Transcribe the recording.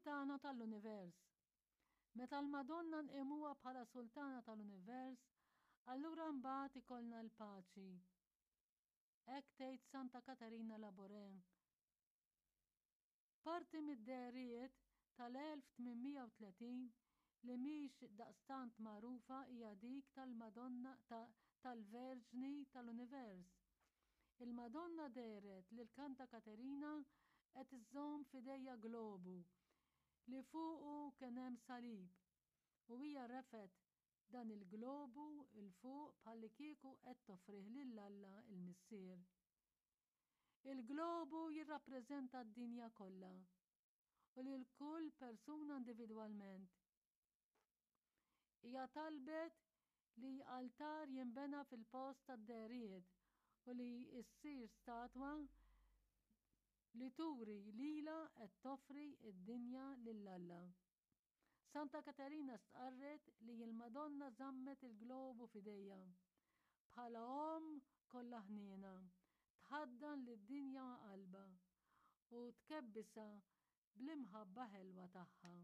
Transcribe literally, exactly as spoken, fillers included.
Sultana tal-Univers. Meta l-Madonna nqimuha bħala Sultana tal-Univers, allura mbagħad ikollna l-paċi. Hekk tgħid Santa Katarina Labouré. Parti mid-dehriet tal-elf tmien mija u tletin li mhix daqstant magħrufa hija dik tal-Madonna tal-Verġni tal-Univers. Il-Madonna dehret lil Santa Katerina qed iżżomm f'idejha globu li fuqu kien hemm salib u hija refgħet dan il-globu 'l fuq bħallikieku qed toffrih lil Alla il-Missier. Il-globu jirrappreżenta d-dinja kollha u lil kull persuna individwalment. Hija talbet li altar jinbena fil-post tad-dehriet u li ssir statwa li turi lilha qed toffri d-dinja lil Alla. Santa Katerina stqarret li l-Madonna żammet il-globu f'idejha bħala omm kollha ħniena, tħaddan lid-dinja ma' qalbha u tkebbisha bl-imħabba ħelwa tagħha.